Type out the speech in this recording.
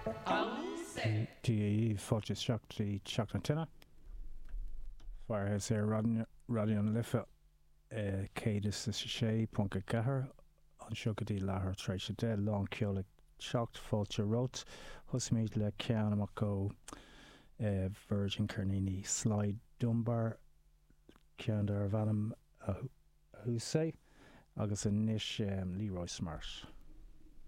Dia dhaoibh, fáilte isteach go dtí Teach na Tine. Firehouse ar Raidió na Life 106.4 anseo go dtí leathuair tar éis 10, lán ceoil ag teacht, fáilte romhat. Thosaímid le ceann amach ó Virgin Ceirníní Sly Dunbar, ceann darbh ainm Ahousaht, agus anois Leroy Smart.